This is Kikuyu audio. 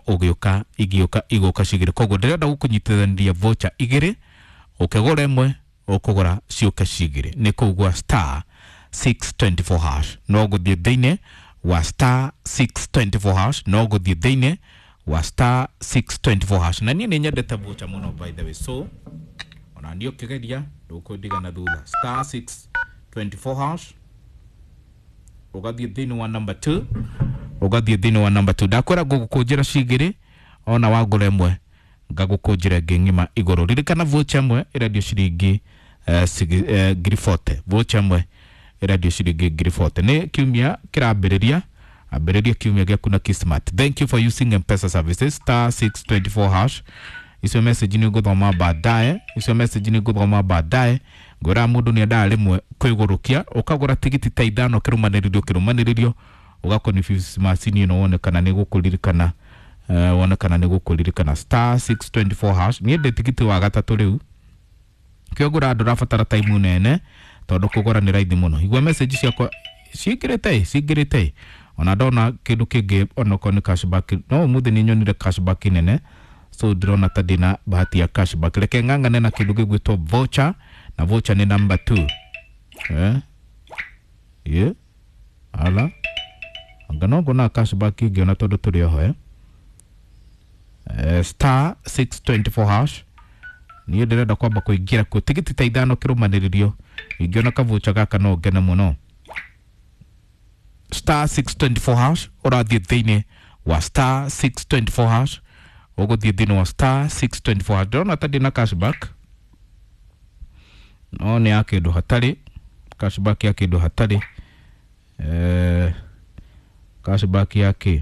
ũgĩũka igĩũka igũka cigĩrĩ. Koguo ndĩrenda gũkũnyitithaniria voucher igĩrĩ, ũkĩgũra ĩmwe ũkũgũra ciũke cigĩrĩ. Nĩ kũu gwa star 624 hash, no gũthiĩ thĩinĩ wa star 624 hash, no gũthiĩ thĩinĩ wa star 624 hash. Na niĩ nĩ nyendete voucher mũno, by the way, so ona niĩ ũkĩgeria ndũkũndigana thutha. Star 624 hash, ũgathiĩ thĩinĩ wa number 2, ũgathiĩ thĩinĩ wa number 2. Ndakwĩra ngũgũkũnjĩra cigĩrĩ, ona wagũra ĩmwe ngagũkũnjĩra ĩngĩ ng'ima igũrũ. Ririkana voucher ĩmwe ĩrendio ciringi 40,000. Voucher ĩmwe ĩrendio ciringi 40,000. Nĩ kiumia kĩrambĩrĩria, ambĩrĩria kiumia gĩaku na Kismat. Thank you for using M-Pesa services, star 624 hash. Icio message nĩ ngũthoma baadaye, icio message nĩ ngũthoma baadaye. Ngwĩra mũndũ nĩ endaga rĩmwe kwĩgũrũkia, ũkagũra tigiti ta ithano kĩrũmanĩrĩrio kĩrũmanĩrĩrio, ũgakonfuse macini ĩno, wone kana nĩ gũkũririkana, wone kana nĩ gũkũririkana. Star 624 hash. Niĩ ndĩ tigiti wa gatatũ rĩu. Kĩogũra ndũrabatara time nene tondũ kũgũra nĩ raithi mũno. Igua message ciakwa cingĩrĩte cingĩrĩte, ona ndona kĩndũ kĩngĩ onokorwo nĩ cashback. No ũmũthĩ nĩ nyonire cashback nene, so ndĩrona ta ndĩna bahati ya cashback. Reke ng'ang'ane na kĩndũ gĩgwĩtwo voucher, na voucher nĩ number 2. Eh, ye ala anga no ngona cashback ingĩona tondũ tũrĩ oho. Eh, star 624 hash. Niĩ ndĩrenda kwamba kũingĩra kuo tigiti ta ithano kĩrũmanĩrĩrio. Ingĩona kavucha gaka no ngene mũno. Star 624 hash, ũrathiĩ thĩinĩ wa star 624 hash, ũgũthiĩ thĩinĩ wa star 624 hash. Ndĩrona ta ndĩna cashback, no nĩ ya kĩndũ hatarĩ cashback ya kĩndũ hatarĩ, cashback ya kĩ.